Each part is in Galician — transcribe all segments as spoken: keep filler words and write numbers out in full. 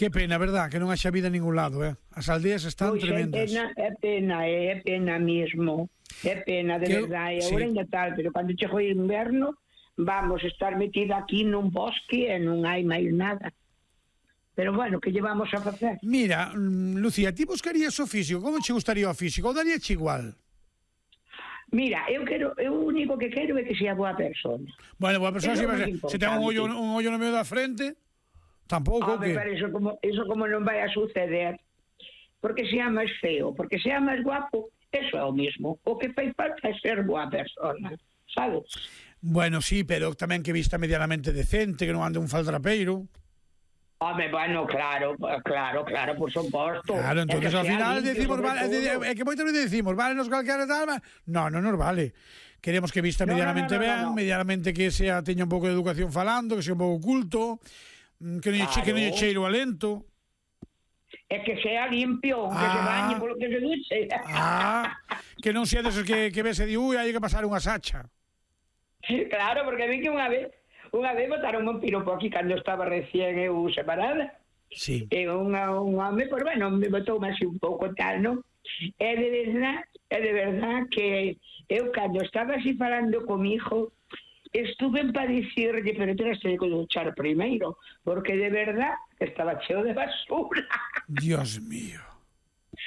Que pena, verdad, que non haxa vida en ningún lado, eh? As aldeas están Pois tremendas. É pena, é pena, é pena mesmo. É pena, de Que eu- verdade. sí. Agora ainda tal, pero cando chego o inverno, vamos estar metida aquí nun bosque e non hai máis nada. Pero bueno, que llevamos a facer? Mira, mm, Lucía, ti buscarías o físico? Como che gustaría o físico? Ou daríache igual? Mira, eu quero, eu o único que quero é que sea boa persona. Bueno, boa persona, Eso se, é moi se ten un ollo, importante. un ollo no medio da frente, tampouco, Home, que... pero eso como, eso como non vai a suceder. Porque sea máis feo, porque sea máis guapo, eso é o mismo. O que fai falta é ser boa persona, sabes? Bueno, sí, pero tamén que vista medianamente decente, que non ande un faldrapeiro. Home, bueno, claro, claro, claro, por suposto. Claro, entonces ao final decimos, vale, é é que moitas veces decimos, vale, nos calquera tal, va... no, non nos vale. Queremos que vista No, medianamente no, no, no, ben, no. medianamente que sea teña un pouco de educación falando, que sea un pouco culto, que non lle Claro. que non lle cheiro a lento. É que sea limpio, que Ah. se bañe polo que se duche. Ah, que non sea desos que, que ves e di, ui, hai que pasar unha sacha. Claro, porque vi que unha vez, unha vez botaron un piropo aquí cando estaba recién eu separada. Sí. E unha, un home, pues bueno, me botou así un pouco tal, non? É de verdad, é de verdad que eu cando estaba así falando con mi hijo, estuve para dicirle, pero terás que duchar primeiro, porque de verdad estaba cheo de basura. Dios mío.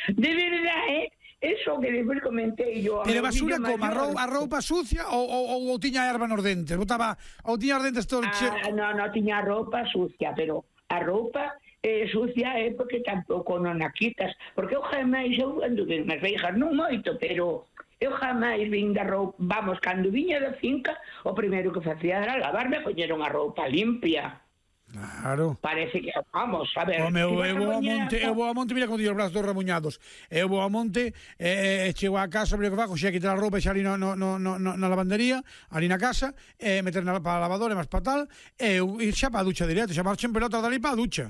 De verdad, eh? Eso que despois comentei yo. Pero basura como a roupa, a roupa sucia ou, ou, ou tiña erva nos dentes? Botaba, ou tiña os dentes todos che... Ah, no, no tiña roupa sucia, pero a roupa eh, sucia é porque tampouco non a quitas, porque eu jamais, eu anduve nas veijas non moito, pero eu jamais vin da roupa, vamos, cando viña da finca, o primeiro que facía era lavarme e poñer unha roupa limpia. Claro. Parece que, vamos, a ver... Home, eu, si vas eu vou a poñer monte, a- eu vou a monte, mira con os brazos remuñados. Eu vou a monte, e eh, chego a casa, o que fago, xa quitar a roupa xa ali no, no, no, no, na lavandería, ali na casa, e meter na, para a lavadora, máis para tal, e eu e xa para a ducha directo, xa marcho en pelota dali para a ducha.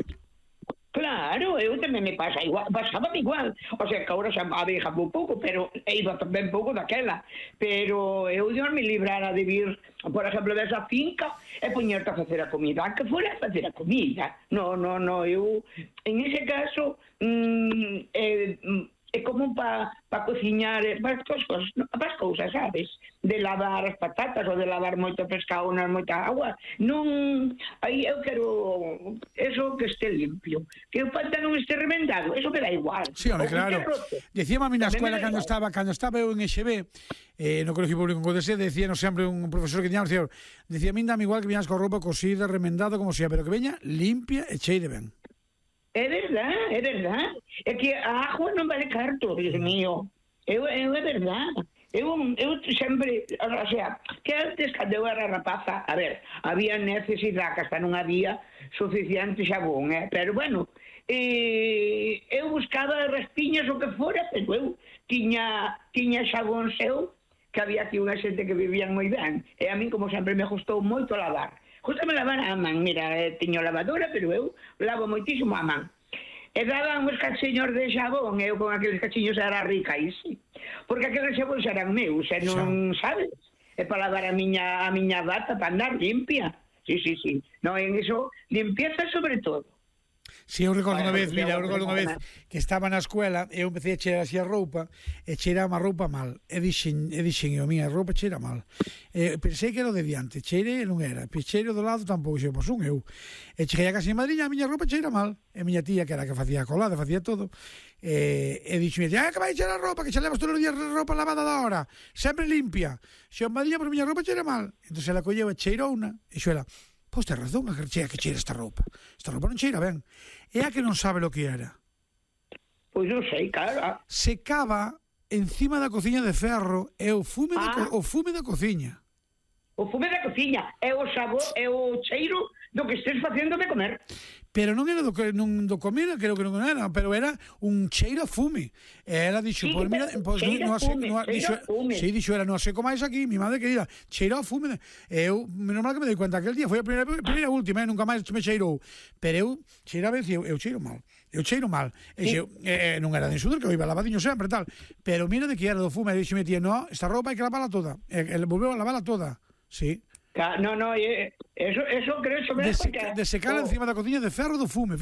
Claro, eu tamén me pasa igual, pasaba igual. O sea, que agora xa abeja un pouco, pero iba ben pouco daquela. Pero eu Dios me librara de vir, por exemplo, desa finca e poñerte a facer a comida. Que fora a facer a comida. No, no, no, eu, en ese caso, mm, eh, é como para pa cociñar, para as cousas, para as cousas, sabes? De lavar as patatas ou de lavar moito pescado na moita agua. Non, aí eu quero eso que este limpio. Que o pantalón este remendado, eso me dá igual. Sí, home, O que claro. este roto. Decíame a mí na Tamén escuela me dá cando igual. estaba, cando estaba eu en E X B, eh, no Colegio Público en Codesé, decíanos sempre un profesor que tiñamos, decía, decía, a mí dame igual que viñas con roupa cosida, remendada, como sea, pero que veña limpia e cheire ben. É verdad, é verdad. É que a agua non vale carto, Dios mío. Eu, eu é verdad. Eu, eu sempre, o sea, que antes, cando eu era rapaza, a ver, había necesidade, que hasta non había suficiente xabón, eh? Pero bueno, eh, eu buscaba respiñas o que fora, pero eu tiña, tiña xabón seu, que había aquí unha xente que vivían moi ben. E a mí, como sempre, me gustou moito lavar. Justame lavar a man, mira, eh, tiño lavadora, pero eu lavo moitísimo a man. E daban uns cachiños de xabón, e eu con aqueles cachiños era rica, e sí. Porque aqueles xabóns eran meus, e non, sabes? E para lavar a miña, a miña bata, para andar limpia. Sí, sí, sí. Non, en eso, limpieza sobre todo. Si, eu recordo unha Bueno, vez, mira, eu eu- recordo unha vez que estaba na escuela, eu empecé a cheirar así a roupa, e cheiraba a roupa mal. E dixen, e dixen, eu, minha roupa cheira mal. E pensei que era o de diante, cheire non era. Cheiro do lado tampouco, xe, pois un eu. E cheguei a casa de madriña, a miña roupa cheira mal. E miña tía, que era a que facía a colada, facía todo, e, e dixen, ah, que vai cheirar a roupa, que xa levas todos os días roupa lavada da hora, sempre limpia. Xe, madriña, pero miña roupa cheira mal. Entón ela colleu e cheirou unha, e xo era, pois ten razón, a que cheira que cheira esta roupa. Esta roupa non cheira ben. É a que non sabe lo que era. Pois non sei, claro. Secaba encima da cociña de ferro e o fume, Ah. da, co- o fume da cociña. O fume da cociña, é o sabor, é o cheiro do que estés facendo de comer. Pero non era do que non do comer, creo que non era, pero era un cheiro a fume. E ela dixo, Sí, pois mira, pero pois cheiro non a sei, fume, non cheiro dixo, a fume. si dixo era non seco máis aquí, mi madre querida, cheiro a fume. E eu, menos mal que me dei cuenta aquel día, foi a primeira primeira e última, eh, nunca máis me cheirou. Pero eu cheiraba e dicía, eu cheiro mal. Eu cheiro mal. E Sí. xeu, eh, non era de sudor, que eu iba lavadiño sempre tal. Pero mira de que era do fume, e dixo me tía, no, esta roupa hai que lavarla toda. E ele volveu a lavarla toda. Sí. No, no, eh, eso, eso creo que De, seca, de secar oh. encima da cociña de ferro do fume.